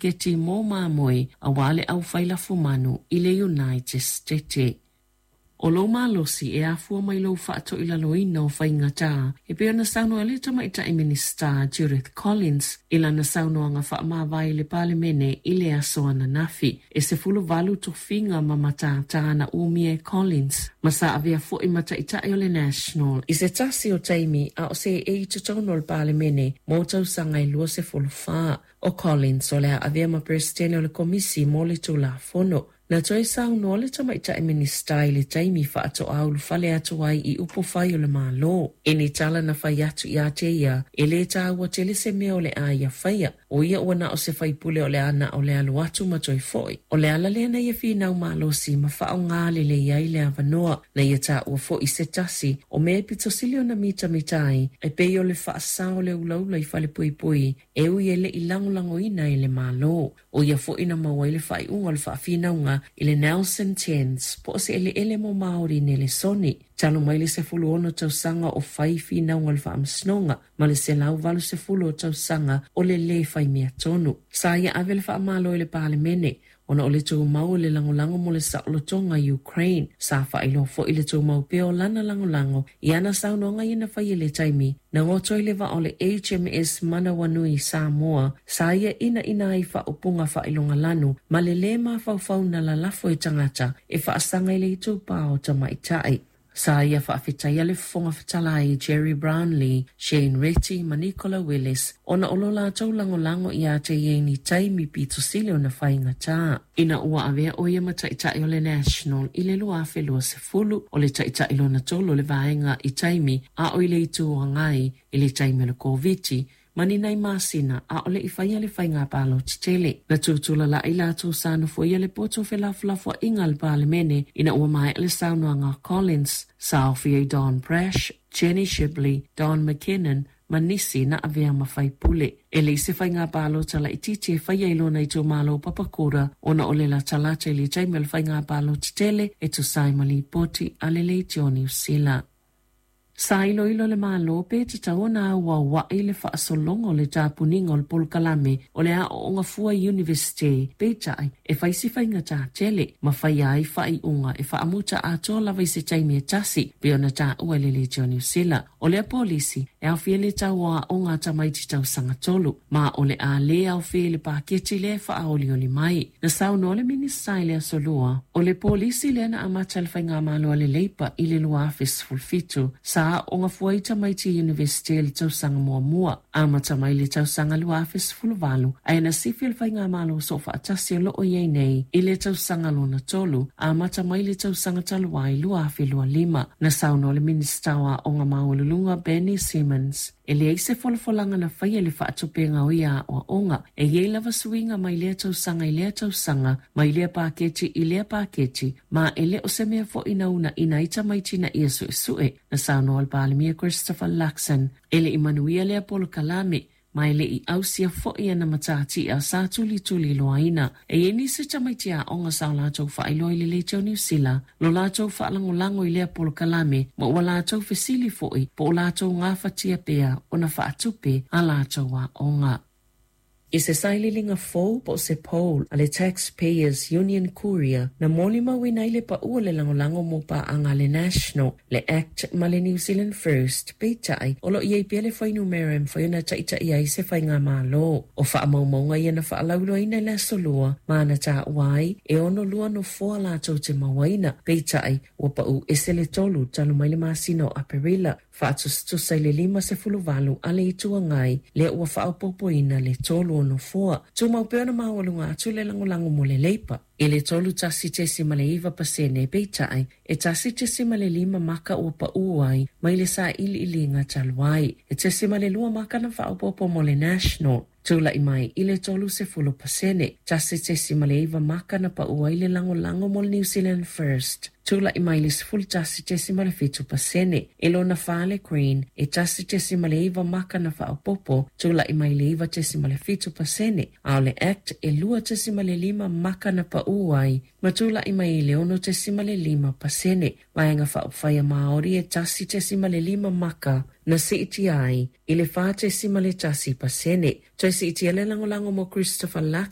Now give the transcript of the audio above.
paketi mo mamoe aua le aufai lafumanu i le United States. O lou malosi e afua mai lou faatoilaloina o faigata, e pei ona saunoa le Tamaitai Minisita Judith Collins i lana saunoaga faamavae i le Palemene i le aso ananafi. E 18 tofiga ma matata na umia e Collins, ma sa avea foi ma Taitai o le National i se tasi o taimi a o seei i totonu o le Palemene mo tausaga e 24. O Collins o le a avea ma Peresetene o le Komisi mo le Tulafono. Na toe saunoa le Tamaitai Minisita i le taimi faatoa ulufale atu ai i upufai o le Malo. I ni tala na fai atu ia te ia, e le taua tele se mea o le a ia faia, o ia ua na o se faipule o le a na o le alu atu ma toe foi. O le ala lea na ia finau malosi ma faaaoga lelei ai le avanoa. Na ia taua foi se tasi o mea e pito sili ona mitamita ai, e pei o le faasao o le ulaula i falepuipui e ui e le i lagolagoina e le Malo. ʻO ia foi na maua ai le faaiuga o le faafinauga i le Nelson Tense, po o se eleele mo Māori Nelesoni. Talu mai le 16 tausaga o fai finauga o le faamasinoga ma le 180 o tausaga o le lē fai mea tonu. Sa ia ave le faamalo i le Palemene ona o le tumau o le lagolago mo le saolotoga i Ukraine. Sa faailoa foi le tumau pea o lana lagolago i ana saunoaga ia na faia i le taimi na goto ai le vaa o le HMS Manawanui Samoa, sa ia inaina ai faaupuga faailogalanu ma le lē mafaufau na lalafo e tagata e faasaga i le itupa o tamaitai. Sa ia faafetaia le Fofoga Fetalai Gerry Brownlee, Shane Reti ma Nicola Willis ona o lo latou lagolago iā te ia i ni taimi pito sili ona faigata. Ina ua avea ʻo ia ma Taitai o le National i le 2020, o le Taitai lona tolu o le vaega i taimi a o i le Itu Agai i le taimi o le Koviti ma ni nai masina a o le i faia le faiga palota tele. Na tutulalai latou sa nofoia le poto felafolafoaiga a le Palemene ina ua maea le saunoaga a Collins, sa aofia ai Don Brash, Jenny Shipley, Don McKinnon ma nisi na avea ma faipule. E leai se faiga palota laitiiti e faia i lona itumalo o Papakura ona o le latalata i le taimi o le faiga palota tele e tusa ai ma lipoti a le Leitio Niu Sila. Sa iloilo le Malo pe tatau ona auaua'i le faasologa o le tapuniga o le polokalame o le aoaoga fua i Iunivesite, peitai, e fai si faigata tele ma faia ai faaiuga e faamuta atoa lava i se taimi e tasi, pei ona taua e le Leitio Niu Sila. O lea polisi, e aofia le tau o aoga a tamaiti tausaga tolu, ma o le a lē aofia i le paketi lea e faaolioli mai. Na saunoa le Minisita i le Aso Lua, o le polisi lea na amata e le Faigamalo a le Leipa i le 2017, sa aooga fua ai tamaiti i Iunivesite i le tausaga muamua, amata mai le tausaga 2018, ae na sifi le Faigamalo Soofaatasi o lo o i ai nei i le tausaga lona tolu, amata mai le tausaga talu ai 2025. Na saunoa le Minisita o Aoga Maualuluga Benny Simmons, e leai se folafolaga na faia i le faatupega o ia aoaoga. E i ai lava suiga mai lea tausaga i lea tausaga, mai lea paketi i lea paketi, ma e le o se mea foi na uunaina ai tamaiti ina ia suesue. Na saunoa le Palemia Christopher Luxon, e le i manuia lea polokalame, ma e le i ausia foi ana matatia sa tulituliloaina. E i ai nisi tamaiti aoga sa o latou faailoa i le Leitio Niu Sila lo latou faalagolago i lea polokalame ma ua latou fesili foi po o latou gafatia pea ona faatupe a latou aoga. I se sailiiliga fou po o se poll a le Taxpayers Union Courier na molimauina ai le pau o le lagolago mo paaga a le National, le Act ma le New Zealand First, peitai, o lo o i ai pea le fuainumera e mafai ona taitai ai se faigamalo. O faamaumauga ia na faalauiloaina i le Aso Lua ma na taua ai e 62 nofoa latou te mauaina, peitai, ua pau ese le tolu talu mai le masina o Aperila, faatusatusa i le 58 a le Itu Agai lea ua faaopoopoina le tolu o nofoa. Tumau pea ona maualuga atu le lagolago mo le Leipa i le 31.9%, peitai, e 1.5 maka ua paū ai mai le sailiiliga talu ai. E 0.2 maka na faaopoopo mo le National, tulai mai i le 30%. 1.9 maka na paū ai le lagolago mo le New Zealand First, tulai mai le 11.7%. E lona fa le Green, e 1.9 maka na faaopoopo, tulai mai le 9.7%, a o le Act e 2.5 maka na paū ai ma tulai mai i le 6.5%. Vaega Faaupufai a Māori e 1.5 maka na siitia ai i le 4.1%. Toe siitia le lagolago mo Christopher Luxon.